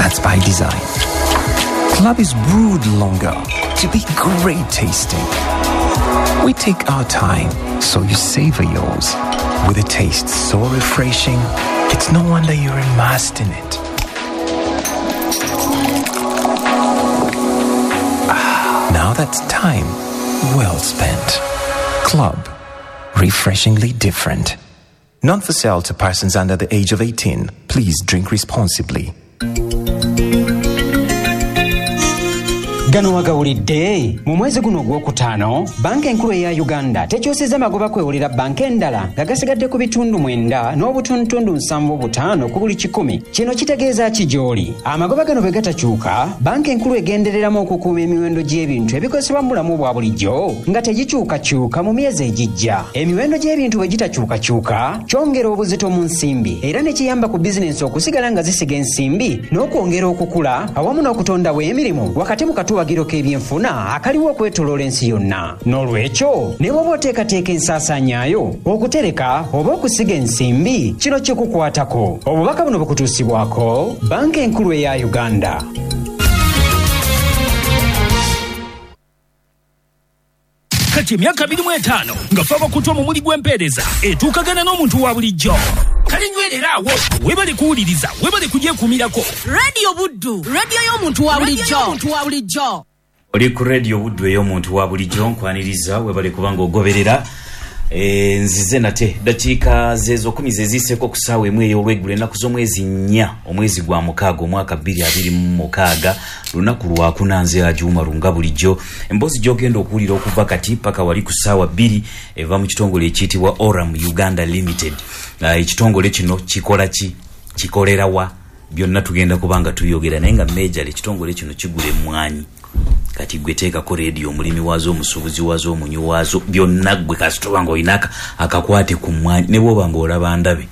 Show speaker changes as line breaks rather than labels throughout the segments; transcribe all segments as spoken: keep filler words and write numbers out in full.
That's by design. Club is brewed longer to be great tasting. We take our time so you savor yours. With a taste so refreshing, it's no wonder you're immersed in it. Ah, now that's time well spent. Club, refreshingly different. Not for sale to persons under the age of eighteen. Please drink responsibly.
Gano wagawulidde mu mwezi guno ogwokutaano, Banka Enkulu eya Uganda tekyusizza magoba kwewulira banka endala nga gasigadde ku bitundu mwenda n'obutundutundu nsanvu butaano ku buli kikumi. Kino kitegeeza ki gy'oli? Amagoba gano bwe gatakyuka, Banka Enkulu egendereramu okukuuma emiwendo gy'ebintu ebikozesebwa mu bulamu bwa bulijjo nga tegikyukakyuka mu myezi egijja. Emiwendo gy'ebintu bwe gitakyukakyuka kyongera obuzito mu nsimbi era ne kiyamba ku bizinensi okusigala nga zisiga ensimbi n'okwongera okukula awamu n'okutondawo emirimu wakati mu katuwagiro k'ebyenfuna akaliwo okwetoloola ensi yonna. N'olwekyo ne bw'oba oteekateeka ensaasaanyaayo, okutereka oba okusiga ensimbi, kino kikukwatako. Obubaka buno bukutuusibwako Banka Enkulu eya Uganda.
Kati emyaka abiri mu etaano nga fe abakutu omumuli gw'empeereza etuukagana n'omuntu wa bulijjo. Kale nywerera awo, webale kuwuliriza, webale kugyekuumirako.
Radio Buddu, radio y'omuntu wa bulijjo. Omuntu wa bulijjo.
Oli ku Radio Buddu ey'omuntu wa bulijjo, nkwaniriza, webale kubanga ogoberera. E, nzize nate dakiika zezo kumi zeziiseko ku ssaawa emu ey'olweggulo ennaku z'omwezi nnya omwezi gwa mukaaga omwaka bbiri abiri mu mukaaga, lunaku lwakuna. Nze Ajuuma Lunga bulijjo. Emboozi gy'ogenda okuwulira okuva kati paka wali ku ssaawa bbiri eva mu kitongole ekiyitibwa Oram Uganda Limited. Ekitongole kino kikola ki, kikolera wa, byonna tugenda kubanga tubyogera, naye nga major ekitongole kino kigula emmwanyi. Kati gwe teekako rediyo, omulimi waazo, omusuubuzi waazo, omunywi waazo, byonna gwe kasita nga olina akakwate ku mmwanyi, ne bw'oba ng'olaba ndabe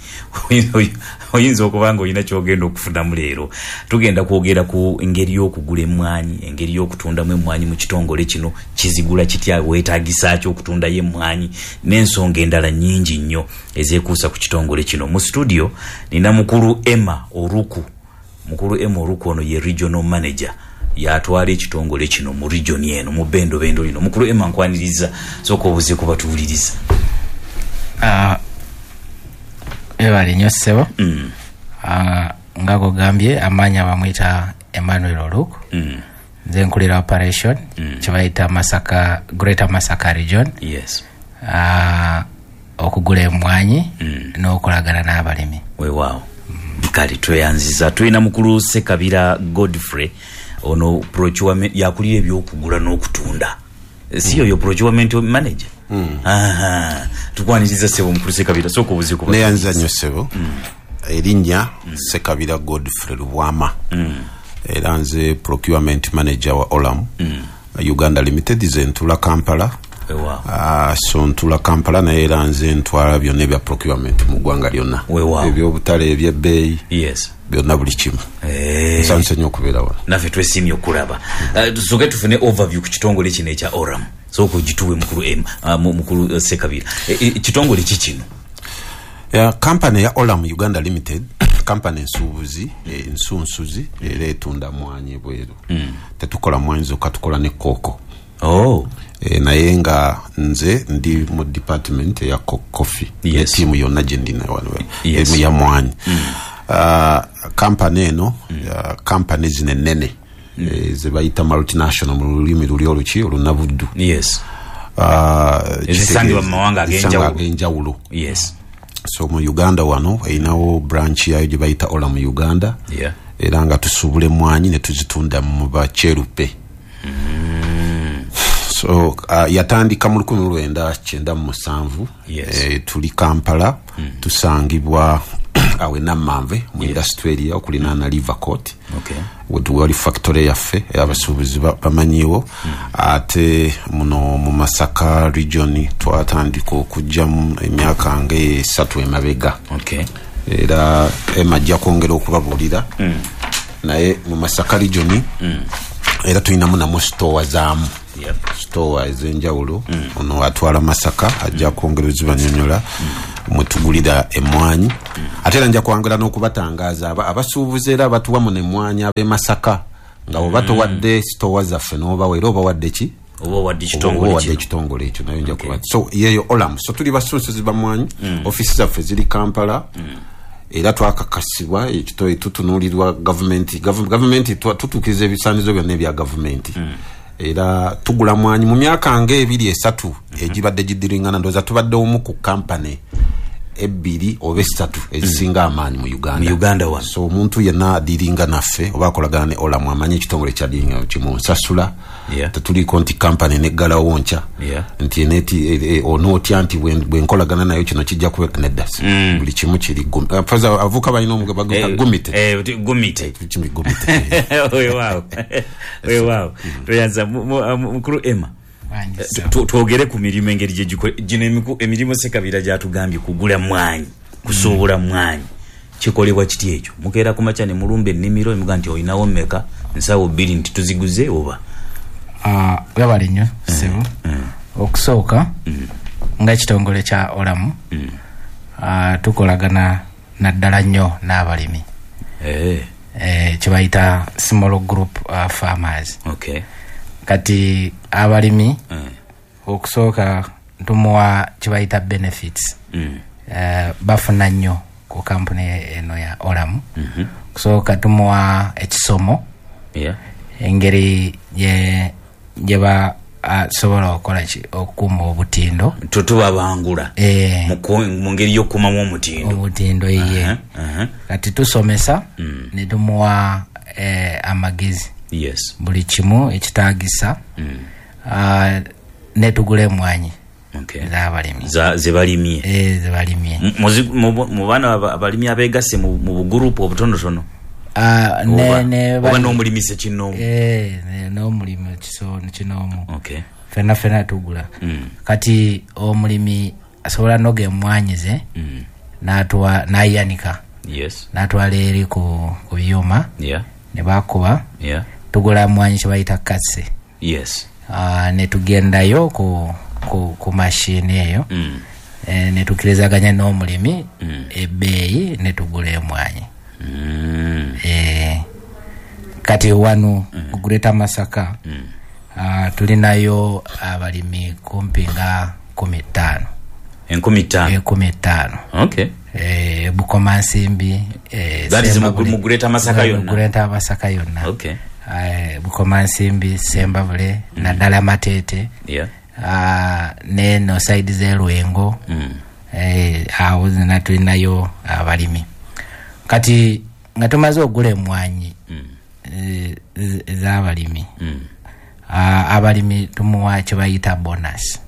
oyinza okuba nga olina ky'ogenda okufunamu leero. Tugenda kwogera ku ngeri y'okugula emmwanyi, engeri y'okutundamu emmwanyi mu kitongole kino, kizigula kitya, weetaagisa ki okutundayo emmwanyi, n'ensonga endala nnyingi nnyo ezeekuusa ku kitongole kino. Mu studio nina mukulu Emma Oruku. Mukulu Emma Oruku ono ye regional manager, yatwala ekitongole kino mu region eno, mu bendobendo lino. Mukulu Emma, nkwaniriza, sooka obuze ku batuwuliriza.
Webale nnyo ssebo.
Mm.
Ah, nga gogambye, amaanya bamuyita Emmanuel Oluku.
Mm.
Nze nkulira operation
Mm.
kyebayita Masaka, Greater Masaka Region.
Yes.
Ah, okugula emmwanyi
Mm.
n'okolagana n'abalimi.
Weewaawo. Kale tweyanziza. Tulina mukulu Sekabira Godfrey, ono procurement, yakulira ebyokugula n'okutunda. Si yoyo procurement manager?
Mm.
Aha. Tukwaniriza ssebo mukulu Sekabira, sooka obuze ku
Neyanziza nnyo ssebo.
Mm.
Erinnya Sekabira Godfrey Lubwama.
Mm.
Era nze procurement manager wa Olam
Mm.
Uganda Limited, nze ntula Kampala.
Weewaawo.
Ah, so ntula Kampala, naye era nze ntwala byonna ebya procurement mu ggwanga lyonna.
Weewaawo.
Ebyobutale, ebyebbeeyi,
Yes.
byonna buli kimu.
Eh.
Nsanyuse nnyo okubeera wano.
Naffe twesiimye okulaba. Uh, tusooke tufune overview ku kitongole kino ekya Oram. Sooka ogituwe mukulu M, uh, mukulu Sekabira. Ekitongole ki kino?
Ya kampani ya Olam Uganda Limited, kampani ensuubuzi, ensunsuzi, era etunda mwanyi ebweru.
Mm.
Tetukola mwanyi zokka, tukola ne kooko.
Oh.
E, naye nga nze ndi mu department eya coffee.
Yes.
Tiimu yonna gye ndina wano.
Yes.
Emu ya mwanyi.
Mm.
Uh, kampani eno,
Mm.
uh, kampani zino ennene,
Mm.
e, ze bayita multinational mu lulimi luli oluki olunabuddu.
Yes.
Uh,
Ezisangibwa mu mawanga ag'enjawulo.
Ag'enjawulo.
Yes.
So mu Uganda wano erinawo branch yayo gye bayita Olam Uganda.
Yeah.
Era nga tusuubula emmwanyi ne tuzitunda mu bakyeruppe.
Mm.
So uh, yatandika mu lukumi lwenda kyenda mu musanvu.
Yes.
E, tuli Kampala,
Mm.
tusangibwa awe Nammanve mu
Yes.
industrial area okulinaana River Court.
Okay.
Wali factory yaffe abasuubuzi bamanyiwo.
Mm.
Ate muno mu Masaka region twatandika okujjamu emyaka nga esatu emabega.
Okay.
Era Emma ajja kwongera okubabuulira.
Mm.
Naye mu Masaka region
Mm.
era tulinamu namu store zaamu.
Yep.
Store ez'enjawulo.
Mm.
Ono atwala Masaka ajja kwongera ozibanyonyola.
Mm.
Mwetugulira emmwanyi. Ate era nja kwangula n'okubatangaaza abasuubuzi era abatuwa muno emmwanyi ab'e Masaka, nga bwe batowadde sitowa zaffe n'obawa era obawadde ki?
Oba owadde ekitongole
ekitongole ekyo nayo nja kuba. So yeeyo Olam. So tuli basunsuzi ba mmwanyi, ofiisi zaffe ziri Kampala. Era twakakasibwa ekito tutunuulirwa gavumenti, gavumenti tutuukiriza ebisaanizo byonna ebya gavumenti. Era tugula mwanyi mu myaka ng'ebiri esatu egibadde gidiringana, ndowooza tubadde omu ku kampani ebbiri oba esatu ezisinga amaanyi mu Uganda.
Mu Uganda wano.
So omuntu yenna adiringa naffe oba akolagana ne Olam amanyi ekitongole kyadiringa kimunsasula. Tetuliiko nti kampani neggalawo nkya nti neti onootya nti bwe nkolagana nayo kino kijja kubeera nedda. Buli kimu kiri avuka balina gumite.
Gumite. Weewaawo. Weewaawo. Toyanza mukulu Emma. Twogere ku mirimu engeri gye gino emirimu Ssekabira gy'atugambye kugula mwanyi, kusuubula mwanyi, kikolebwa kiti ekyo? Mukeera ku makya ne mulumba ennimiro emuga nti olinawo mmeka, nsawo bbiri nti tuziguze oba?
Webale nnyo ssebo. Okusooka nga ekitongole kya Olam tukolagana naddala nnyo n'abalimi kye bayita small group farmers. Kati abalimi mm. okusooka tumuwa kibayita benefits mm. uh, bafuna nnyo ku kampuni eno ya Olam. mm -hmm. Okusooka tumuwa ekisomo
yeah.
engeri gye basobola okukola okukuuma obutindo,
tutubabangula
e,
mu ngeri y'okukuumamu omutindo
obutindo iye.
uh -huh. uh -huh.
Kati tusomesa
mm.
ne tumuwa eh, amagezi.
Yes.
Buli kimu ekitaagisa
mm.
uh, netugula emwanyi
okay.
z'abalimi
zebalimye
eh, zebalimye
mu baana abalimi abeegasse mu bugurupu obutonotono
uh,
oba n'omulimi sekinnoomu
eh, n'omulimi kinoomu
okay.
fenna fenna tugula
mm.
Kati omulimi asobola noga emwanyi ze
mm.
n'ayanika
yes.
n'atwala eri ku, ku byuma
yeah.
ne bakuba
yeah.
tugula mwanyi kyebayita katse.
Yes.
Uh, ne tugendayo ku, ku, ku mashini eyo
mm.
e, ne tukirizaganya n'omulimi
mm.
ebbeeyi ne tugula emwanyi
mm.
e, kati wano
mm.
ku Greater Masaka
mm.
uh, tulinayo abalimi kumpi nga kumi ttaano
enkumi ttaano
enkumi ttaano
okay.
Eh, Bukomansimbi eh,
that is mu Greater Masaka yonna.
Greater Masaka yonna.
Okay.
Eh, Bukomansimbi, Sembabule
mm.
naddala Mateete
yeah.
Uh, neno side z'Elwengo
mm.
eh, awo zonna tulinayo abalimi. Kati nga tumaze okugula emwanyi
mm.
eh, ez'abalimi
mm.
uh, abalimi tumuwa kye bayita bonus.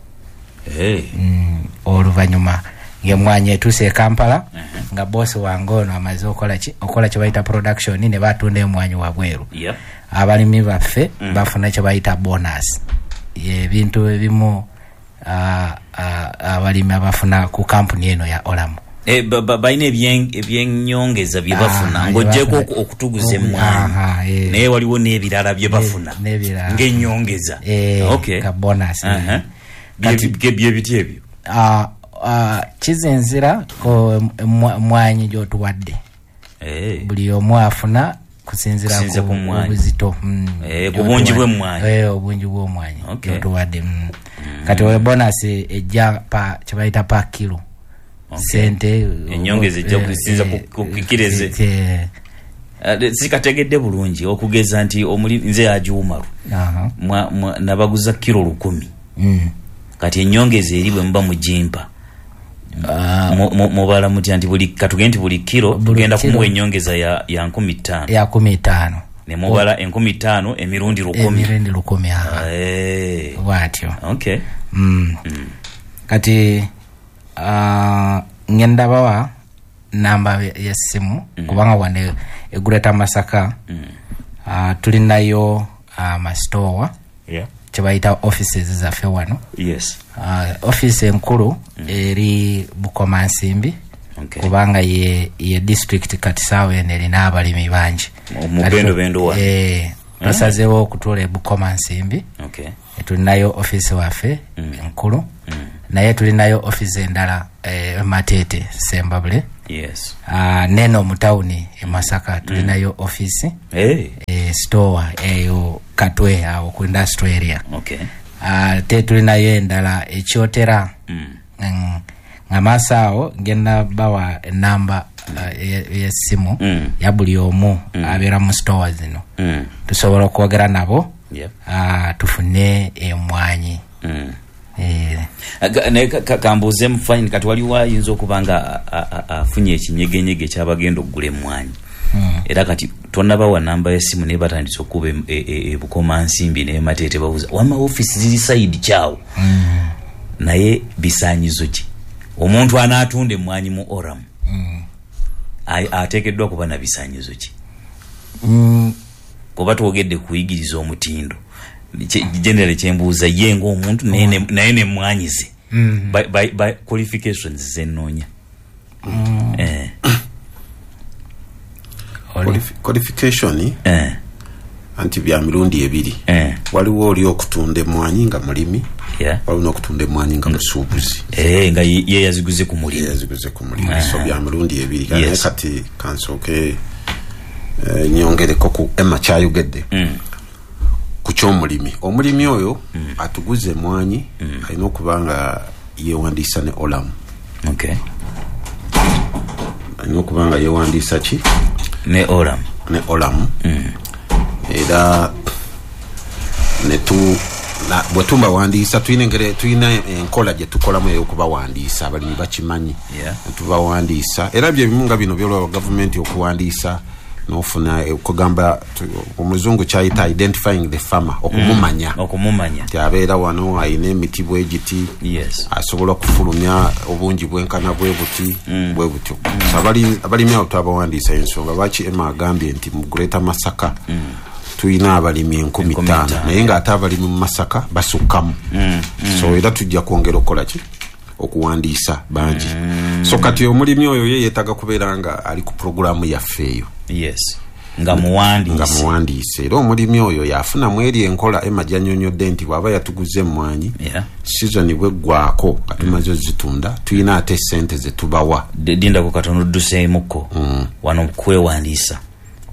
Hey.
Mm, oluvannyuma ng'emwanyi etuuse e Kampala
uh -huh.
nga boosi wange ono amaze okola ki okola kye bayita production ne batunda emwanyi wabweru.
Yep.
Abalimi baffe
mm.
bafuna kye bayita bonus, ebintu ebimu uh, uh, abalimi abafuna ku kampuni eno ya Olam
e, balina ebyenyongeza bye bafuna ng'oggyeko okutuguza emwanyi, naye waliwo n'ebirala bye bafuna ng'ennyongeza
okay. ka bonus
uh -huh. Bye biti ebyo
uh, Uh, kizinzira ko mwanyi gy'otuwadde
hey.
Buli omu afuna kusinzira ku obuzito
mm, hey, ku bungi bw'emmwanyi
hey, obungi bw'omwanyi
okay.
gy'otuwadde mm.
mm.
Kati oyo bonus ejja pa kye bayita pa kilo
okay.
Sente
ennyongeza ejja kusinza ku kikireze
eh.
Sikategedde bulungi okugeza nti omuli nze ajuumalu
uh -huh.
nabaguza kilo lukumi
mm.
Kati ennyongeza eri bwe muba mugimpa mubala mutya nti buli katugende nti buli kilo tugenda kumuwa ennyongeza ya, ya nkumi ttaano
ya kumi ttaano
ne mubala enkumi ttaano emirundi lukumi
emirundi lukumi
hey.
Bwatyo
okay.
mm.
mm.
Kati uh, ngenda bawa namba y'essimu
mm.
kubanga wane e Greater Masaka
mm.
uh, tulinayo uh, masitowa
yeah.
kyebayita offices zaffe wano.
Yes.
Uh, office enkulu
mm.
eri Bukomansimbi
okay.
kubanga ye, ye district kati saawa eno erina abalimi bangi
mubendo wa
eh, twasazeewo okutuula e Bukomansimbi
okay.
Tulinayo office waffe
mm.
enkulu
mm.
Naye tulinayo office endala e Matete Sembabule.
Yes.
Uh, neno mu tawuni e Masaka tulinayo mm. office.
Hey.
E, store eyo Katwe awo ku industrial area.
Okay.
Uh, te tulinayo endala ekyotera.
Mm.
Mm, nga maaso ngenda bawa enamba uh, y'essimu
mm.
ya buli omu
mm.
abeera mu store zino.
Mm.
Tusobola okwogera nabo.
Yep.
Uh, tufune emwanyi.
Mm.
Eh.
Naye kambuuze mufanyini kati waliwo ayinza okuba nga afunye ekinyegenyege kyabagenda okugula emmwanyi.
Mm.
Era kati tonnabawa namba y'essimu naye batandise okuba ebukomansimbi ne Mateete babuuza wamma ofiisi ziri sayidi kyawo.
Mm.
Naye bisaanyizo ki omuntu anaatunda emmwanyi mu Oram
mm.
ateekeddwa kuba na bisaanyizo ki?
Mm.
Kuba twogedde kuyigiriza omutindo generally kyembuuza ye ng'omuntu naye nemmwanyi ze
mm.
by, by, by qualifications zenoonya.
Mm.
Eh.
Qualification
eh.
anti bya mirundi ebiri.
Eh.
Waliwo oli okutunda emmwanyi nga mulimi.
Yeah.
Waliwo n'okutunda emmwanyi nga musuubuzi.
Eh, nga ye yaziguze ku mulimi.
Ye yaziguze ku mulimi.
Eh.
So bya mirundi ebiri.
Yes.
Kati kansooke eh, nyongereko ku Emma kyayogedde.
Mm.
Ku ky'omulimi. Omulimi oyo
mm.
atuguze emmwanyi
mm.
alina okuba nga yeewandiisa ne Olam.
Okay.
Alina okuba nga yeewandiisa ki?
Ne Olam.
Ne Olam.
Mm.
Era netu na bwe tubawandiisa tulina engeri tulina enkola gye tukolamu ey'okubawandiisa abalimi bakimanyi.
Yeah.
Tubawandiisa era bye bimu nga bino byolaba gavumenti okuwandiisa n'ofuna okugamba omuzungu kyayita identifying the farmer, okumumanya.
Mm, okumumanya
nti abeera wano ayina emiti bwe giti.
Yes.
Asobola okufulumya obungi bwenkana bwe buti
mm.
bwe butyo.
Mm.
So abalimi abo twabawandiisa ensonga lwaki Emma agambye nti mu Greater Masaka
mm.
tulina abalimi enkumi ttaano naye ng'ate abalimi mu Masaka basukkamu.
Mm. Mm.
So era tujja kwongera okukola ki? Okuwandiisa bangi.
Mm.
So kati omulimi oyo ye yeetaaga kubeera nga ali ku pulogulaamu yaffe eyo.
Yes. Nga muwandiise.
Nga muwandiise. Era omulimi oyo yafunamu eri enkola Emma gy'annyonnyodde nti bw'aba yatuguze emmwanyi
yeah.
sizoni bw'eggwako nga tumaze ozitunda tulina ate ssente ze tubawa.
Dindako katono odduseemukko.
Mm.
Wano kwewandiisa.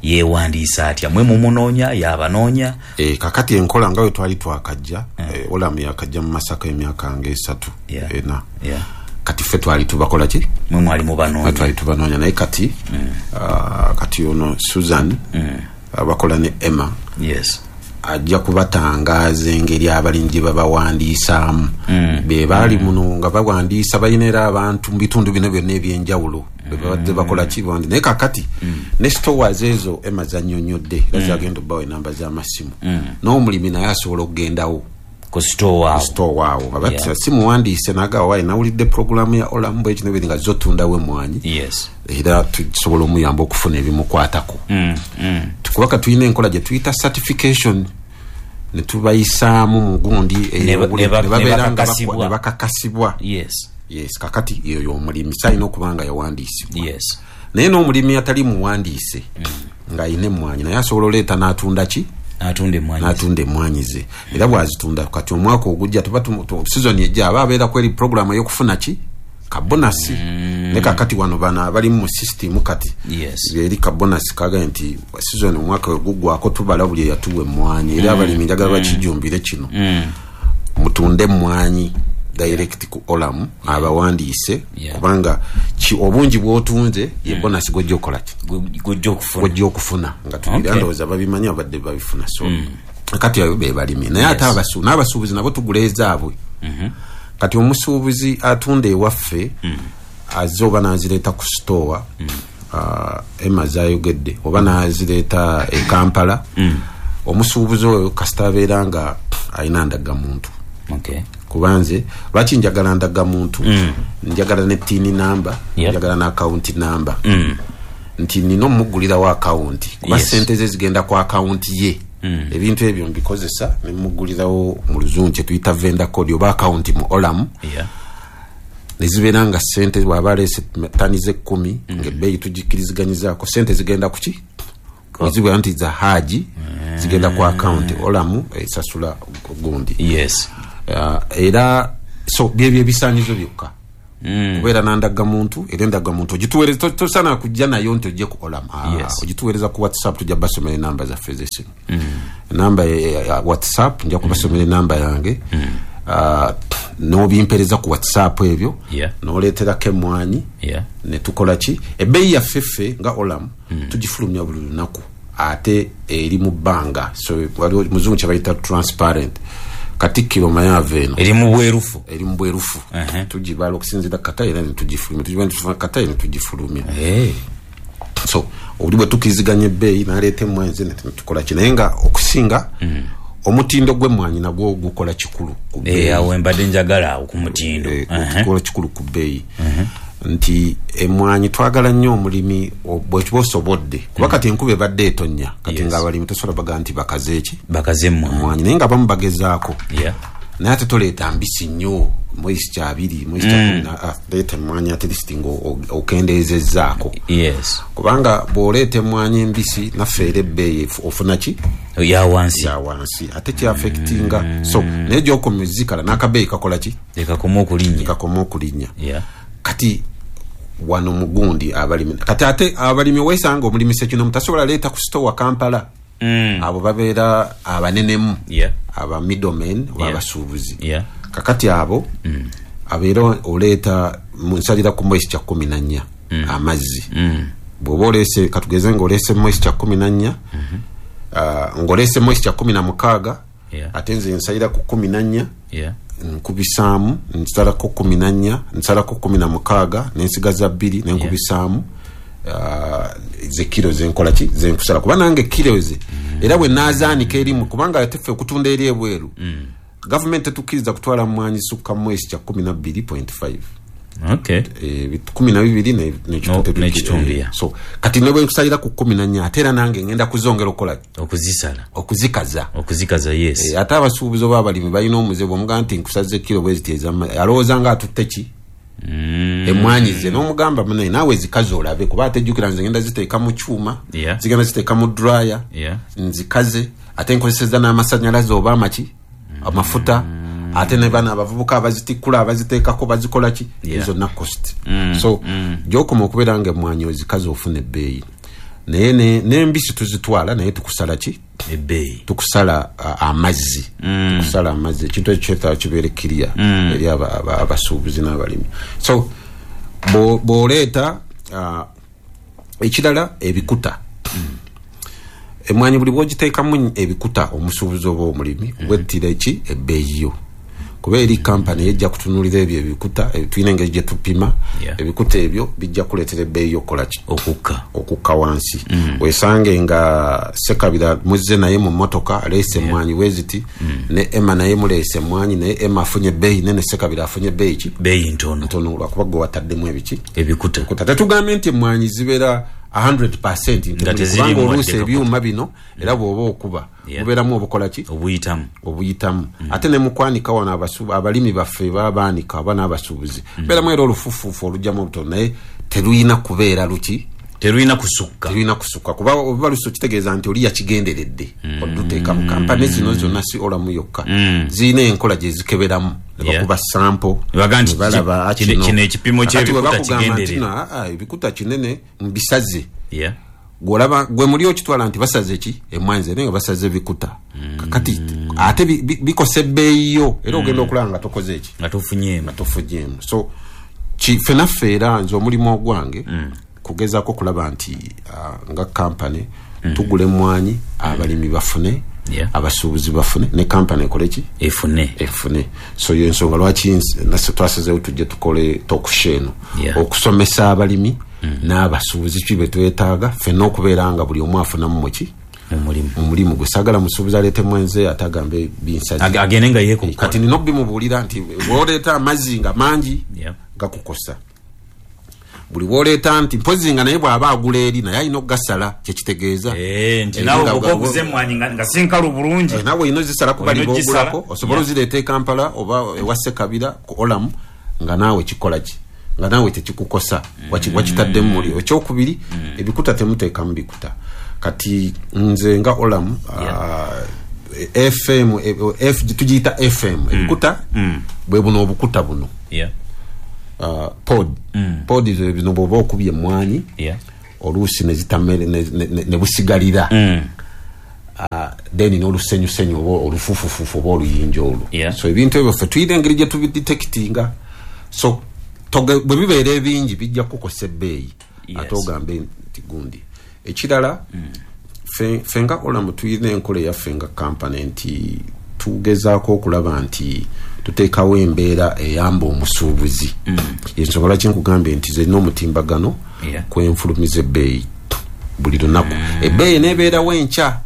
Yeewandiisa atya? Mwe mumunoonya yabanoonya?
E, kakati enkola nga bwe twali twakajja
mm.
e, Olam yakajja mu Masaka emyaka nga esatu
yeah.
ena.
Yeah.
Kati ffe twali tubakola ki?
Mwe mwali mubanoonya.
Twali tubanoonya naye kati
mm.
uh, kati ono Susan
mm.
abakola ne Emma.
Yes.
Ajja kubatangaaza engeri abalimi gye babawandiisaamu.
Mm.
Be baali
mm.
muno nga bawandiisa balina era abantu mu bitundu bino byonna ebyenjawulo. Be babadde bakola ki bawandi naye kakati
mm.
ne stores ezo Emma zannyonnyodde era
mm.
zagenda obbawa enamba z'amasimu.
Mm.
N'omulimi naye asobola okugendawo
ku store awo.
Store awo. Abati
yeah.
si muwandiise n'agamba waayi nawulidde pulogulaamu ya Olam bwe kino biri nga zotundawo emmwanyi.
Yes.
Era tusobola omuyamba okufuna ebimukwatako.
Mm. Mm.
Kubanga tulina enkola gye tuyita certification ne tubayisaamu mu gundi
Ne
ne babeera nga ne bakakasibwa.
Yes.
Yes, kakati eyo y'omulimi alina okuba nga yawandiisibwa.
Yes.
Naye n'omulimi atali muwandiise
mm.
ng'ayina emmwanyi naye asobola oleeta n'atunda ki?
N'atunda emmwanyi.
N'atunda emmwanyi ze. Era bw'azitunda kati omwaka ogujja tuba season ejja aba abeera kweri pulogulaamu ey'okufuna ki? Kabonasi.
Mm.
Ne kakati wano bano abali mu system kati.
Yes.
Eri kabonasi kaga nti season omwaka oguggwako tubala buli eyatuwa emmwanyi. Era
mm.
abalimi njagala
mm.
bakijumbire kino.
Mm.
Mutunde emmwanyi direct ku Olam abawandiise
yeah.
kubanga ki obungi bw'otunze ye
mm.
bonasi gw'ojja okukola ki?
Gw'ojja okufuna.
Gw'ojja okufuna nga tugira
okay.
ndowooza babimanyi abadde babifuna so
mm.
kati abo be balimi naye ate
yes.
abasu n'abasuubuzi nabo tugula ezaabwe.
Mm-hmm.
Kati omusuubuzi atunda ewaffe
mm.
azze oba n'azireeta ku store
mm.
uh, Emma zayogedde oba n'azireeta e Kampala
mm.
omusuubuzi oyo kasita abeera nga alina ndagamuntu.
Okay.
Kubanze lwaki njagala ndagamuntu
mm.
njagala ne tini namba
yep.
njagala na account number
mm.
nti nina omugulirawo account kuba
yes.
sente ze zigenda ku account ye
mm.
ebintu ebyo mbikozesa ne mugulirawo mu luzungu kye tuyita vendor code oba account mu Olam
yeah.
ne zibeera nga sente bw'aba aleese tani z'ekkumi
mm.
ng'ebbeeyi tugikkiriziganyizaako sente zigenda ku ki? Ozibwa nti za haji
mm.
zigenda ku account Olam esasula gundi.
Yes.
Uh, era So byebyo ebisaanyizo byokka. Kubeera n'andagamuntu, era endagamuntu ogituweereza, tosaana kujja nayo nti ojje ku Olam. Ogituweereza ku WhatsApp, tujja basomera enamba zaffe ez'essimu. Enamba ya WhatsApp nja kubasomera enamba yange. N'obimpeereza ku WhatsApp ebyo, n'oleeterako emmwanyi, ne tukola ki? Ebbeeyi yaffe ffe nga Olam tugifulumya buli lunaku, ate eri mu bbanga. So waliwo muzungu kye bayita transparent. Katikkiro Mayava eno
eri mu bwerufu,
eri mu bwerufu. Tugibala okusinziira kata era ne tugifulumya, tugibala kata era ne tugifulumya. So obuli bwe tukkiriziganya ebbeeyi n'aleeta emmwanyi ze ne tukola ki, naye nga okusinga omutindo gw'emmwanyi nagwo gukola kikulu ku bbeeyi.
Awo mbadde njagala awo ku mutindo.
Gukola kikulu ku bbeeyi. Nti emmwanyi twagala nnyo omulimi bw'okiba osobodde, kuba kati enkuba ebadde etonnya, kati ng'abalimi tosobola baga nti bakaze ki?
Bakaze emmwanyi.
Naye nga abamu bagezaako. Naye ate toleeta mbisi nnyo, moisture abiri, moisture kumi, leeta emmwanyi at least ng'okendeezezzaako. Kubanga bw'oleeta emmwanyi embisi naffe era ebbeeyi ofuna ki?
Ya wansi.
Ya wansi. Ate kyaffectinga. So naye gy'okomya ozikala n'akabeeyi kakola ki?
Kakoma okulinnya.
Kakoma okulinnya. Kati wano mugundi abalimi, kati ate abalimi weesanga omulimi sekinomu tasobola leeta ku store Kampala. Abo babeera abanenemu, aba middlemen oba abasuubuzi. Kakati abo abeera oleeta nsalira ku moisture kumi na nnya amazzi. Bw'oba oleese, katugeze ng'oleese moisture kumi na nnya, ng'oleese moisture kumi na mukaaga, ate nze nsalira ku kumi na nnya, nkubisaamu, nsalako kumi na nnya, nsalako kumi na mukaaga, nensigaza bbiri, nenkubisaamu ze kiro zenkola ki? Zenkusala. Kuba nange kiro ze era bwe naazaanika erimu, kubanga ate ffe okutunda eri ebweru, gavumenti tetukkiriza kutwala mmwanyi sukka moisture kumi na bbiri point five. Kumi na bibiri n'ekitundu. So kati ne bwe nkusalira ku kumi na nnya, ate era nange ngenda kuzongera okukola
okuzisala,
okuzikaza,
okuzikaza. Yes.
Ate abasuubuzi oba abalimi balina omuze bw'omugamba nti nkusaze kiro bwe ziti ez'amazzi, alowooza nga atutte ki? Emmwanyi ze. N'omugamba munnaye naawe zikaze olabe, kuba ate jjukira nze ngenda ziteeka mu kyuma, zigenda ziteeka mu dryer, nzikaze, ate nkozesezza n'amasannyalaze oba amaki, amafuta, ate ne bano abavubuka abazitikkula abaziteekako bazikola ki? Ezo na cost. So gy'okoma okubeera nga emmwanyi ozikaze ofuna ebbeeyi. Naye n'embisi tuzitwala, naye tukusala ki?
Ebbeeyi.
Tukusala amazzi. Tukusala amazzi. Ekintu ekyo kyetaaga kibeere clear eri abasuubuzi n'abalimi. So bw'oleeta ekirala ebikuta. Emmwanyi buli bw'ogiteekamu ebikuta omusuubuzi oba omulimi wettira ki? Ebbeeyi yo. Kuba eri kampani ejja kutunuulira ebyo ebikuta, tulina engeri gye tupima ebikuta ebyo, bijja kuleetera ebbeeyi okukola ki?
Okukka.
Okukka wansi. Weesange nga Sekabira muzze naye mu mmotoka aleese emmwanyi bwe ziti, ne Emma naye muleese emmwanyi, naye Emma afunye ebbeeyi nene, Sekabira afunye ebbeeyi ki?
Bbeeyi ntono.
Ntono lwakuba gwe wataddemu ebiki?
Ebikuta.
Tetugambye nti emmwanyi zibeera one hundred percent, kubanga oluusi ebyuma bino era bw'oba okuba bubeeramu obukola ki?
Obuyitamu.
Obuyitamu. Ate ne mukwanika wano abalimi baffe babaanika oba n'abasuubuzi, beeramu era olufuufuufu olugyamu obutono, naye teruyina kubeera luki?
Teruyina kusukka.
Teruyina kusukka, kuba oba lusu kitegeeza nti oli yakigenderedde oduteeka mu kampani zino zonna, si Olamu yokka, zirina enkola gye zikeberamu ne bakuba sample
ne balaba kino ekipimo ky'ebikuta kigenderere.
Ebikuta kinene mbisaze. Gwolaba gwe muli okitwala nti basaze ki? Emmwanyi ze, naye nga basaze bikuta. Kakati ate bikosa ebbeeyi yo, era ogenda okulaba nga tokoze ki?
Nga tofunyeemu.
Nga tofunyeemu. So ffe naffe era nze omulimu ogwange kugezaako okulaba nti nga kampani tugula emmwanyi, abalimi bafune, abasuubuzi bafune, ne kampani ekole ki?
Efune.
Efune. So yo ensonga lwaki naffe twasazeewo tujje tukole talk eno, okusomesa abalimi n'abasuubuzi ki bye twetaaga ffenna okubeera nga buli omu afunamu muki? Omulimu gwe. Saagala musuubuzi aleete mwenze ate agambe binsaze,
agende nga yeekukola.
Kati nina obimubuulira nti bw'oleeta amazzi nga mangi gakukosa. Buli bw'oleeta nti mpozi nga naye bw'aba agula eri naye alina okugasala, kyekitegeeza
nti naawe bw'oba oguze emmwanyi nga si nkalu bulungi,
naawe olina ozisala kuba bali b'ogulako, osobola ozireeta e Kampala oba ewa Sekabira ku Olamu nga naawe kikola ki? Nga naawe tekikukosa, wakitaddemu muli. Ekyokubiri, ebikuta temuteekamu bikuta. Kati nze nga Olamu F M, F, tugiyita F M, ebikuta Bwe buno obukuta buno.
Yeah.
Uh, pod.
Mm.
Pod bino bw'oba okubye emmwanyi.
Yeah.
Oluusi ne zitamere ne, ne, ne, ne busigalira.
Mm.
Uh, then n'olusenyusenyu oba olufufufufu oba oluyinja olwo.
Yeah.
So ebintu ebyo ffe tuyina engeri gye tubidetectinga. So bwe bibeera ebingi bijja kukosa ebbeeyi.
Yes.
Ate ogambe nti gundi. Ekirala,
mm.
ffe, ffe nga Olamu tuyina enkola eyaffe nga kampani nti tugezaako okulaba nti tuteekawo embeera eyamba omusuubuzi.
Mm.
Ensonga lwaki nkugambye nti ze n'omutimbagano
yeah.
kwenfulumiza ebbeeyi buli lunaku.
Mm.
Ebbeeyi n'ebeerawo enkya.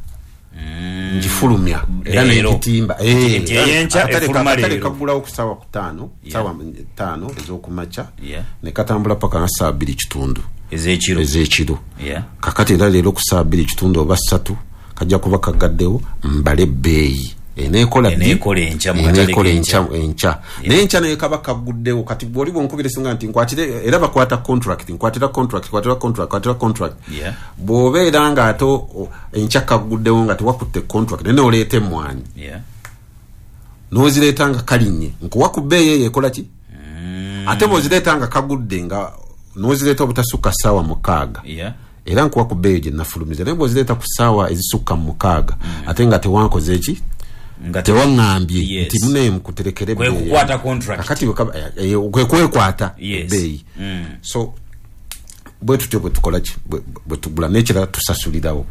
Mm.
Ngifulumya era n'ekitimba.
Eh,
kaggulawo ku ssaawa kutaano, ssaawa ttaano ez'okumakya,
Yeah.
ne katambula paka nga ssaawa bbiri kitundu
ez'ekiro.
Ez'ekiro.
Yeah.
Kakati era leero ku ssaawa bbiri kitundu oba ssatu kajja kuba kagaddewo mbale ebbeeyi. Eneekola
Eneekola enkya mu katale
eneekola
k'enkya.
enkya, enkya. Naye enkya naye kaba kaguddewo. Kati bw'oli bw'onkubira singa nti nkwatire, era bakwata contract, nkwatira contract, nkwatira contract, nkwatira contract.
Yeah.
Bw'obeera ng'ate o-, enkya kaguddewo nga tewakutte contract, naye n'oleeta emmwanyi.
Yeah.
N'ozireeta nga kalinnye. Nkuwa ku bbeeyi eyo ekola ki?
Mm.
Ate bw'ozireeta nga kagudde nga n'ozireeta obutasukka ssaawa mukaaga.
Yeah.
Era nkuwa ku bbeeyi gye nafulumiza. Naye bw'ozireeta ku ssaawa ezisukka mu mukaaga,
Mm.
ate nga tewankoze ki?
Nga
tewaŋŋambye
Yes.
nti mune mukuterekere
Kwe
ebbeeyi.
kukwata contract.
Kakati bwe kaba, eh, eh, kwe kwekwata
Yes.
ebbeeyi.
Mm.
So bwe tutyo bwe tukola ki? Bwe, bwe tugula n'ekirala tusasulirawo.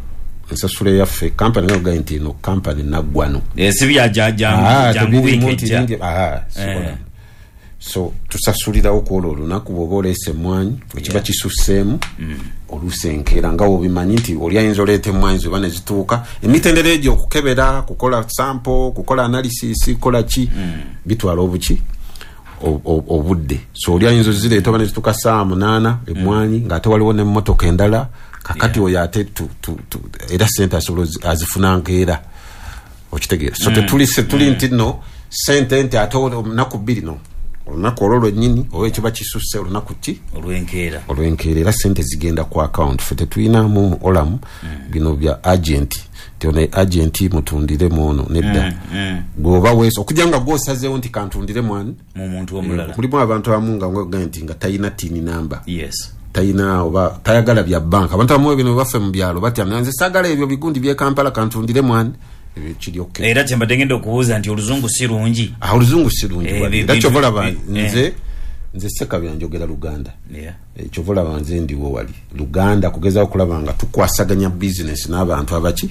Ensasula eyaffe, kampani nga ogambye nti eno kampani naggwano.
Eh, si bya ja-, jangu,
Ah,
jangu
tebiriimu
wiiki
nti
ejja.
bingi, ah, sikola.
Eh.
So tusasulirawo ku olwo olunaku bw'oba oleese emmwanyi, bwe kiba
Yeah.
kisusseemu,
Mm.
oluusi enkeera nga bw'obimanyi nti oli ayinza oleeta emmwanyi zo oba ne zituuka. Emitendera egyo okukebera, kukola sample, kukola analysis, kukola ki,
Mm.
bitwala obuki? O-, o-, obudde. So oli ayinza ozireeta oba ne zituuka ssaawa munaana emmwanyi, ng'ate waliwo n'emmotoka endala. Kakati
Yeah.
oyo ate tu-, tu-, tu-, era ssente asobola ozi-, azifuna nkeera. Okitegeera? So
Mm.
tetuli se-, tuli
Mm.
nti nno ssente nti ate olunaku bbiri no. Olunaku olwo lwennyini oba ekiba kisusse olunaku ki?
Olw'enkeera.
Olw'enkeera era ssente zigenda ku account. Ffe tetulinamu mu Olamu
Mm.
bino bya agent. Nti ono agent mutundire mu ono nedda.
Mm, mm.
Bw'oba weesa okujja nga gw'osazeewo nti kantundire mu ani?
Mu muntu omulala.
Eh, mulimu abantu abamu nga ng'ogamba nti nga talina TIN number.
Yes.
Talina oba tayagala bya banka. Abantu abamu bino baffe mu byalo batya nze saagala ebyo bigundi by'e Kampala kantundire mu ani? Ebyo kiri okay.
Era kye mbadde ngenda okubuuza nti oluzungu si lungi.
Ah, oluzungu si lungi.
Eh,
Era
bi-,
kyova olaba
bi-,
nze,
eh.
nze Ssekabya njogera Luganda.
Yeah.
Eh, kyova olaba nze ndiwo wali Luganda kugezaako okulaba nga tukwasaganya business n'abantu abaki?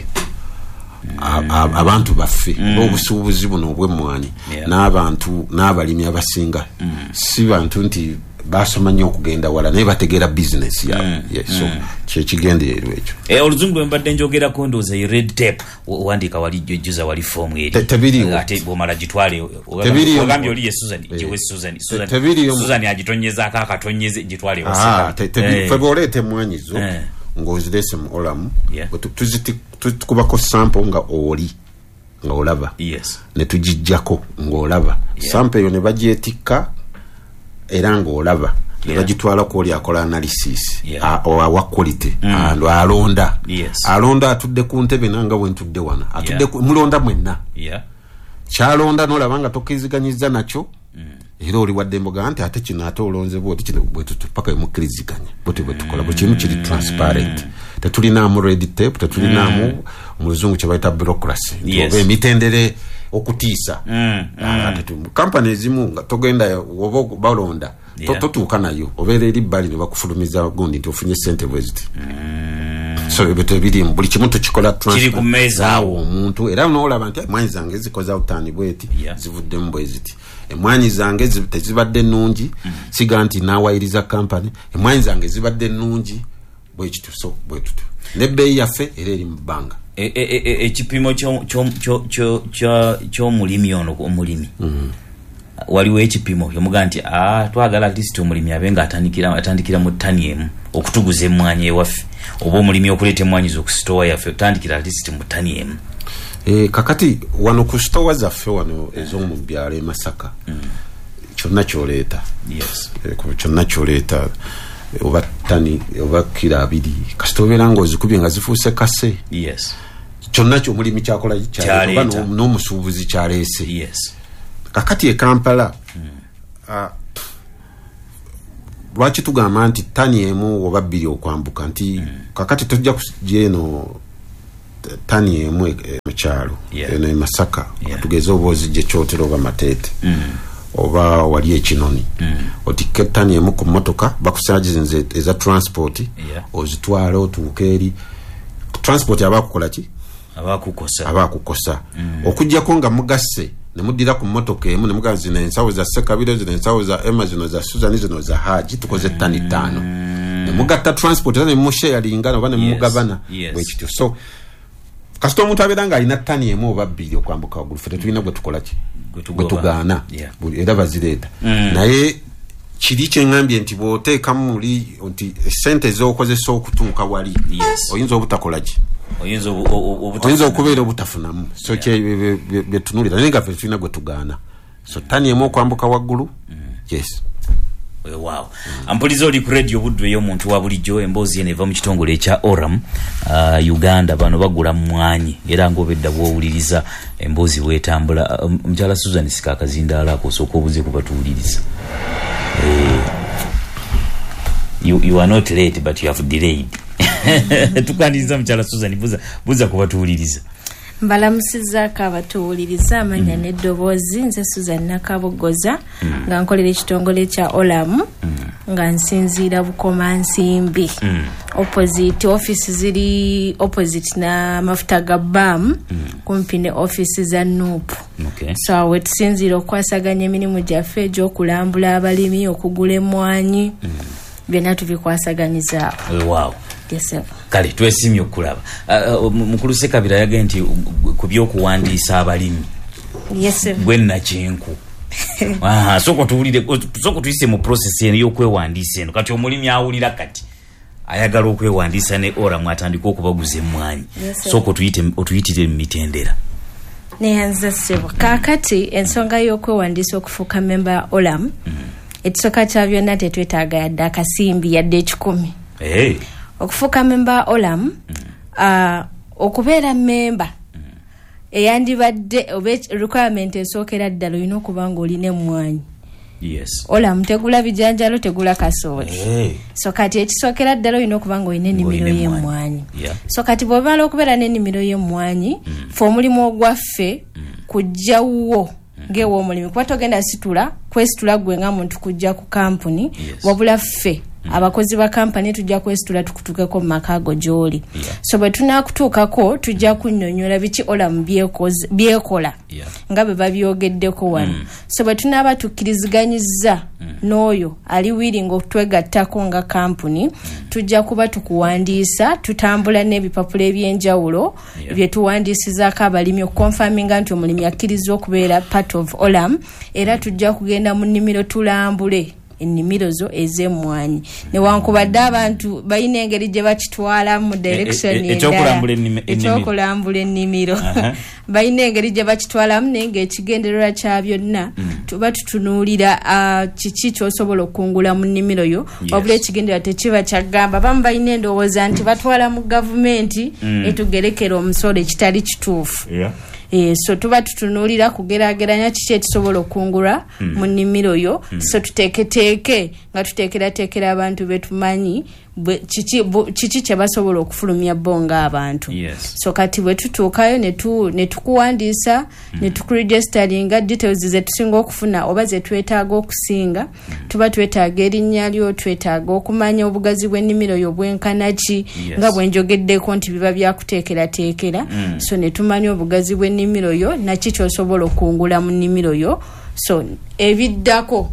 A-, a-, abantu baffe,
Mm.
obusuubuzi buno obw'emmwanyi,
Yeah.
n'abantu, n'abalimi abasinga.
Mm.
Si bantu nti basoma nnyo okugenda wala, naye bategeera business yaabwe.
Mm.
Yeah, so
Mm.
kye kigendererwa ekyo.
Eh, oluzungu lwe mbadde njogerako ndowooza ye red tape, o-, owandiika wali jjuza wali form eri.
Te-, tebiriiwo.
Ate bw'omala gitwale, o-, o-,
Tebiriiwo.
ogambye oli ye Susan,
Eh.
giwe Susan,
Te-,
Susan,
tebiriiwo.
Susan agitonyezaako akatonyeze, gitwale ewa
Ah,
Susan.
te-, tebiri-,
Eh.
ffe bw'oleeta emmwanyi zo,
Eh.
ng'ozireese mu Olamu,
Yeah.
bwe tu-, tuziti-, tukubako sample nga oli, nga olaba.
Yes.
Ne tugiggyako ng'olaba.
Yeah.
Sample eyo ne bagyetikka era ng'olaba. Ne
Yeah.
bagitwala ku oli akola analysis.
Yeah.
A-, o-, awa quality.
Mm.
And alonda.
Yes.
Alonda atudde ku ntebe nanga bwe ntudde wano. Atudde
Yeah.
ku, mulonda mwenna.
Yeah.
Kyalonda n'olaba nga tokkiriziganyiza nakyo.
Mm.
Era oli wadde emboga nti ate kino ate olonze bw'oti, kino bwe tutu, paka we mukkiriziganya. Bw'oti bwe tukola. Buli kimu kiri transparent.
Mm.
Tetulinaamu red tape, tetulinaamu
Mm.
mu luzungu kye bayita bureaucracy. Nti
Yes.
oba emitendere okutiisa.
Mm,
Ah,
mm.
tetu-, kampani ezimu nga togenda oba balonda, to-,
Yeah.
totuuka nayo. Obeera eri bbali ne bakufulumiza gundi nti ofunye ssente bwe ziti.
Mm.
So ebyo tebiriimu, buli kimu tukikola
Kiri
transfer.
ku mmeeza.
Awo omuntu era n'olaba nti emwanyi zange zikoze outani bweti,
Yeah.
zivuddemu bwe ziti. Emwanyi zange zi-, tezibadde nnungi,
Mm.
siga nti naawayiriza kampani, emwanyi zange zibadde nnungi bwe kityo, so bwe tutyo. N'ebbeeyi yaffe era eri mu bbanga.
E, e, e, e, ekipimo kyo-, kyo-, kyo-, kyo-, kyo-, ky'omulimi ono, omulimi.
Mm.
Waliwo ekipimo yomuga nti, ah, twagala at least omulimi abe nga atandikira, atandikira mu ttani emu okutuguza emmwanyi ewaffe, oba omulimi okuleeta emmwanyi zo ku sitowa yaffe otandikira at least mu ttani emu.
Eh, kakati wano ku sitowa zaffe wano ez'omu byalo e Masaka,
Mm.
kyonna ky'oleeta.
Yes.
Eh, ku kyonna ky'oleeta, oba ttani oba kiro abiri, kasita obeera ng'ozikubye nga zifuuse kase.
Yes.
Kyonna ky'omulimi kyakola kyaleeta, oba
Kyaleeta.
n'omusuubuzi kyaleese.
Yes.
Kakati e Kampala mm. lwaki tugamba nti tani emu oba bbiri okwambuka nti mm. kakati tujja kujja eno tani emu e, mu kyalo
yeah.
eno e Masaka
yeah.
tugeze oba ozijja Kyotera oba Mateete
mm.
oba wali Ekinoni
mm.
otikke tani emu ku mmotoka bakusagizinze eza transport
yeah.
ozitwala otuuke eri transport abakukola ki
abakukosa
abakukosa
mm.
okujjako nga mugasse ne muddira ku mmotoka emu ne mugamba zino ensawo za Sekabiro, zino ensawo za Emma, zino za Susan, zino za Haji, tukoze ttani ttaano
mm.
ne mugatta transport era ne musharinga oba ne mugabana
yes.
bwe kityo. So kasita omuntu abeera ng'alina ttani emu oba bbiri okwambuka waggulu ffe tetulina gwe tukola ki gwe tugaana
yeah.
era bazireeta
mm.
naye kiri kyeŋŋambye nti bw'oteekamu muli nti essente z'okozesa okutuuka wali
yes.
oyinza obutakola ki
oyinza
oyinza okubeera obutafunamu so
yeah.
kye byetunuulira naye nga ffe tulina gwe tugaana. So ttani emu okwambuka waggulu
mm.
yes
Wow. Ampuliza oli ku radio Buddu ey'omuntu wa bulijjo, emboozi eno eva mu kitongole ekya Oram uh, Uganda. Bano bagula mmwanyi era ng'obedda bw'owuliriza emboozi bw'etambula. Uh, mukyala Susan sika akazindaalo ako osooka obuze ku batuwuliriza. Eh, you, you are not late but you have delayed. Tukwaniriza mukyala Susan, buza, buza ku batuwuliriza.
Mbalamusizaako abatuwuliriza amanya mm. n'eddoboozi. Nze Susan Nakabogoza
mm.
nga nkolera ekitongole kya Olam
mm.
nga nsinziira Bukomansimbi
mm.
opposite office ziri opposite n'amafuta ga B A M
mm.
kumpi ne office za N U P.
Okay.
So awo tusinziira okukwasaganya emirimu gyaffe egy'okulambula abalimi, okugula emmwanyi
mm.
byonna tubikwasaganyizaawo.
Wow.
Yes, sir.
Kale twesimye okulaba. Uh, mukulu Sekabira yagambye nti ku by'okuwandiisa abalimi
Yes, sir.
gwe Nakinku. Aha, soko tuwulire, soko tuyise mu process eno y'okwewandiisa eno. Kati omulimi awulira kati ayagala okwewandiisa ne Oram atandika okubaguza emmwanyi.
Yes, sir.
Soko tuyite otuyitire mu mitendera.
Neyanza ssebo. Kaakati ensonga y'okwewandiisa okufuuka memba ya Olam
mm.
ekisooka kya byonna tetwetaaga yadde akasimbi yadde ekikumi.
Hey.
Okufuuka memba Olam
mm.
uh, okubeera memba
mm.
eyandibadde oba requirement esookera ddala olina okuba ng'olina emmwanyi.
Yes.
Olam tegula bijanjalo, tegula kasooli.
Hey.
So kati ekisookera ddala olina okuba ng'olina ennimiro y'emmwanyi.
Yeah.
So kati bw'omala okubeera n'ennimiro y'emmwanyi
mm.
ffe omulimu ogwaffe
mm.
kujja wuwo ng'ewa omulimi kuba togenda situla kwesitula gwe nga muntu kujja ku kampuni
Yes.
wabula ffe abakozi ba kampani tujja kwesitula tukutuukeko mu maka ago gy'oli.
Yeah.
So bwe tunaakutuukako tujja kunnyonnyola biki Olam byekoze- byekola
Yeah.
nga bwe babyogeddeko wano.
Mm.
So bwe tunaaba tukkiriziganyizza n'oyo ali willing okutwegattako nga kampuni tujja kuba tukuwandiisa, tutambula n'ebipapula ebyenjawulo
Yeah.
bye tuwandiisizaako abalimi okukonfaminga nti omulimi akkiriza okubeera part of Olam, era tujja kugenda mu nnimiro tulambule ennimiro zo ez'emmwanyi. Newankubadde abantu balina engeri gye bakitwalamu mu direction
E- e-
endala.
ekyokulambula ennimi- ennimiro.
Ekyokulambula ennimiro.
Aha.
Balina engeri gye bakitwalamu naye ng'ekigendererwa kya byonna tuba tutunuulira ah, kiki ky'osobola okukungula mu nnimiro yo
Yes.
wabula ekigendererwa tekiba kyagamba. Abamu balina endowooza nti batwala mu gavumenti etugerekera omusolo ekitali kituufu.
Yeah.
Eh, so tuba tutunuulira kugeraageranya kiki ekisobola okukungulwa mu nnimiro yo so tuteeketeeke nga tuteekerateekera abantu be tumanyi bwe- kiki bu- kiki kye basobola okufulumya bo ng'abantu.
Yes.
So kati bwe tutuukayo ne tu- ne tukuwandiisa ne tukuregisteringa details ze tusinga okufuna oba ze twetaaga okusinga. Tuba twetaaga erinnya lyo, twetaaga okumanya obugazi bw'ennimiro yo bwenkana ki
Yes.
nga bwe njogeddeko nti biba byakuteekerateekera. So ne tumanya obugazi bw'ennimiro yo naki ky'osobola okukungula mu nnimiro yo. So ebiddako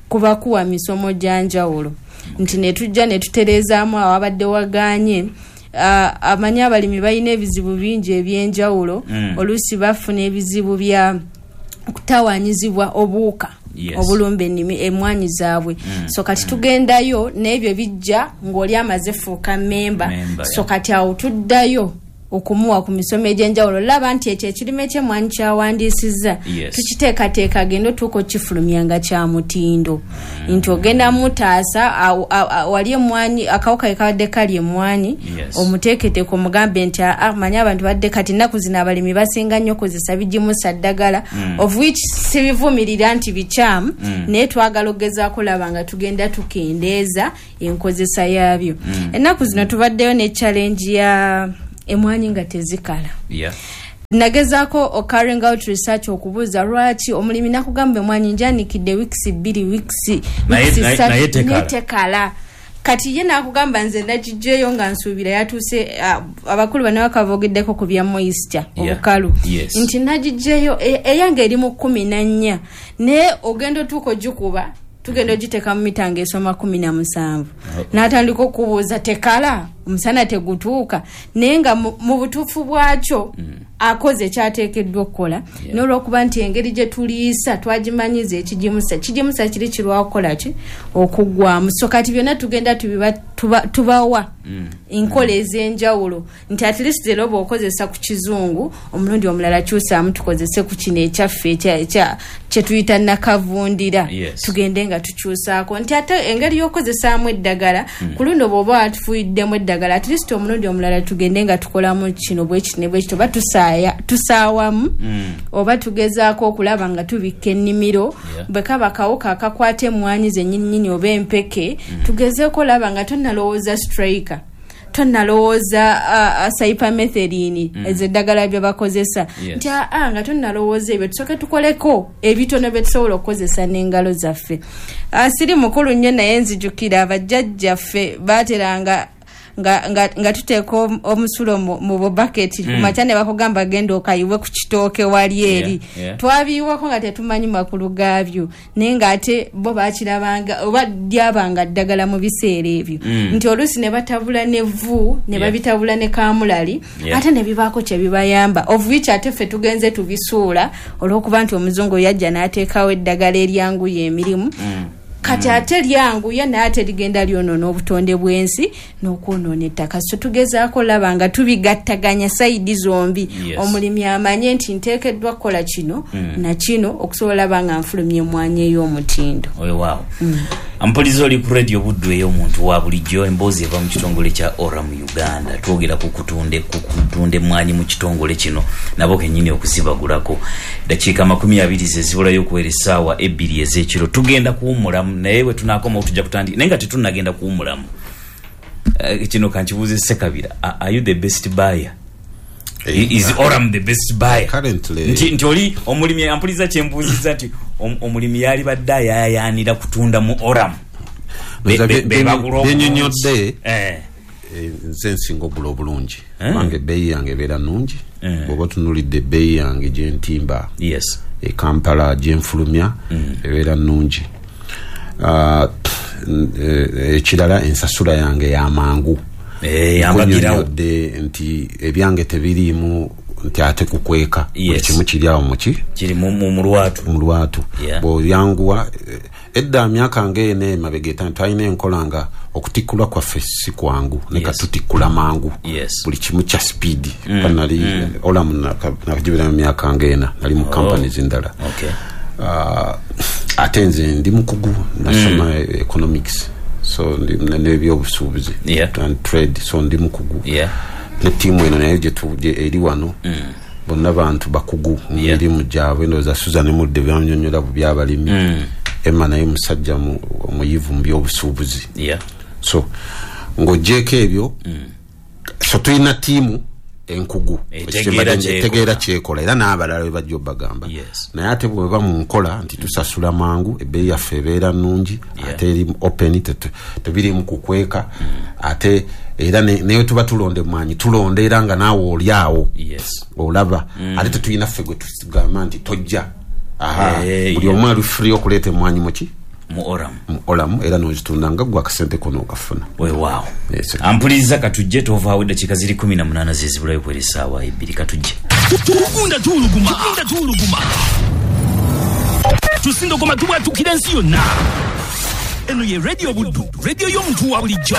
kuba kuwa misomo gya njawulo nti ne tujja ne tutereezaamu awabadde wagaanye. Ah, amanyi abalimi balina ebizibu bingi ebyenjawulo
Mm.
oluusi bafuna ebizibu bya kutawaanyizibwa obuwuka
Yes.
obulumba ennimi emmwanyi zaabwe. So kati tugendayo n'ebyo bijja ng'oli amaze fuuka memba.
Memba,
So
yeah.
kati awo tuddayo okumuwa ku misomo egy'enjawulo. Laba nti ekyo ekirime ky'emmwanyi kyawandiisizza
Yes.
tukiteekateeka agenda otuuka okukifulumya nga kya mutindo, nti ogenda mutaasa aw- aw- aw- wali emmwanyi akawuka ke kabadde kali emmwanyi,
Yes.
omuteeketeeke omugambe nti aa manyi abantu badde kati ennaku zino abalimi basinga nnyo kozesa bigimusa ddagala, of which sibivumirira nti bikyamu, naye twagala okugezaako laba nga tugenda tukendeeza enkozesa yaabyo. Ennaku zino tubaddeyo ne challenge ya emwanyi nga tezikala.
Yeah.
Nagezaako ocarrying out research okubuuza lwaki omulimi nakugamba emwanyi njanikidde weeks bbiri, weeks
Naye-
weeks
naye-
ssatu,
naye tekala.
naye tekala. Kati ye nakugamba nze nagijjeyo nga nsuubira yatuuse, uh, abakulu bano bakavogeddeko ku bya moisture,
Yeah.
obukalu,
Yes.
nti nagijjeyo e- eyange eri mu kkumi na nnya, naye ogenda otuuka ogikuba tugenda ogiteeka mu mita ng'esoma kumi na musanvu, n'atandika okubuuza tekala, omusana tegutuuka, naye nga mu mu butuufu bwakyo akoze kyateekeddwa okukola.
Yeah.
N'olwokuba nti engeri gye tuliisa twagimanyiza ekigimusa kigimusa kiri kirwawo kukola ki okuggwamu. So kati byonna tugenda tubiba, tuba, tubawa enkola ez'enjawulo nti at least leero bw'okozesa ku kizungu, omulundi omulala kyusaamu tukozese ku kino ekyaffe ekya- ekya- kye tuyita nakavundira.
Yes.
Tugende nga tukyusaako nti ate engeri y'okozesaamu eddagala ku luno bw'oba watufuuyiddemu eddagala, at least omulundi omulala tugende nga tukolamu kino bwekiti ne bwekiti, oba tusaaya tusaawamu oba tugezaako okulaba nga tubikka ennimiro.
Yeah.
Bwe kaba kawuka akakwata emmwanyi zennyininyini oba empeke, tugezeeko olaba nga tonnalowooza striker, tonnalowooza uh, cypermethrin, mm. ezo eddagala bye bakozesa,
Yes.
nti aa nga tonnalowooza ebyo tusooke tukoleko ebitono bye tusobola okukozesa n'engalo zaffe. uh, siri mukulu nnyo, naye nzijukira abajjajjaffe baateranga nga, nga, nga tuteeka om- omusulo mu, mu bubaketi mm. kumakya ne bakugamba genda okayiwe ku kitooke wali eri.
Yeah, yeah.
Twabiyiwako nga tetumanyi makulu gaabyo, naye ng'ate bo bakirabanga oba lyabanga ddagala mu biseera ebyo,
Mm.
nti oluusi ne batabula n'evvu ne
Yeah.
babitabula ne kamulali,
Yeah.
ate ne bibaako kye bibayamba, of which ate ffe tugenze tubisuula olw'okuba nti omuzungu yajja n'ateekawo eddagala eryanguya emirimu.
Mm.
Kati ate lyanguya naye ate ligenda lyonoona obutonde bw'ensi n'okwonoona ettaka. So tugezaako laba nga tubigattaganya side zombi.
Yes.
Omulimi amanye nti nteekeddwa kukola kino na kino okusobola laba nga nfulumya emwanyi ey'omutindo.
Weewaawo, ampuliza oli ku Radio Buddu ey'omuntu wa bulijjo. Emboozi eva mu kitongole kya Oram Uganda. Twogera ku kutunde ku kutunda emmwanyi mu kitongole kino, nabo kennyini okuzibagulako. Dakiika makumi abiri ze zibulayo okuwera essaawa ebbiri ez'ekiro. Tugenda kuwummulamu, naye bwe tunaakomawo tujja kutandika, naye nga tetunnagenda kuwummulamu, Eh, kino kankibuuze Sekabira. Are are you the best buyer? Is Oram the best buyer?
Currently-
nti, nti oli omulimi ampuliza kyembuuziza nti om- omulimi yali badde ayayaanira kutunda mu Oram. Be-
Nze
be-
bye-
be bagula obulungi.
byenyonyodde,
Eh,
eh, nze nsinga ogula obulungi,
Eh.
kubanga ebbeeyi yange ebeera nnungi.
Eh.
Bw'oba otunulidde ebbeeyi yange gyentimba
yes
e Kampala gyenfulumya, ebeera nnungi. Ah, n- eh, ekirala ensasula yange yamangu.
Eh, yambagirawo.
Nkunyonyodde nti ebyange tebiriimu nti ate kukweka. Buli
Yes.
kimu kiri awo muki
kiri mu- mu mu lwatu.
Mu lwatu.
Yeah.
Bw'oyanguwa, eh, edda myaka ng'ena emabega etaano twalina enkola nga okutikkulwa kwaffe si kwangu, ne
Yes.
katutikkula mangu.
Yes.
Buli kimu kya speed. mm. Nali mm. Olamu nakagibira mu myaka ng'ena, nali mu companies endala.
Okay.
Ah, ate nze ndi mukugu, nasoma mm. economics, so ndi- n'ebyobusuubuzi
Yeah.
and trade, so ndi mukugu.
Yeah.
Ne ttiimu eno nayo gyetu- gye- eri wano bonna bantu bakugu mu
Yeah.
mirimu gyabwe. Ndowooza Susan Mudde byanyonyola bu byabalimi, Emma naye musajja mu- omuyivu mu byobusuubuzi.
Yeah.
So ng'ogyeko ebyo, so tulina ttiimu enkugu
Etegeera kyekola.
etegeera kyekola, era n'abalala bebajja obagamba.
Yes.
Naye ate bweba mu nkola nti tusasula mangu, ebbeeyi yaffe ebeera nnungi,
Yeah.
ate eri open, tetu- tebirimu kukweka. Ate era ne- newe tuba tulonda emwanyi, tulonda era nga naawe oli awo
Yes.
olaba. Ate tetulina ffe gwe tugamba nti tojja. Aha,
Eh,
buli
yeah.
omu ali free okuleeta emwanyi muki
Mu Oram.
Mu Olamu, era nozitunda nga gwe akasente kono okafuna.
Weewaawo.
Yes.
Ampuliza, katujje, tovaawo. Eddakiika ziri kumi na munaana zezibulayo kuwera essaawa ebbiri. Katujje.
Tugunda tuwuluguma, tugunda tuwuluguma, tusindogoma, tubwatukira ensi yonna. Eno ye Radio Buddu, radio y'omuntu wa bulijjo.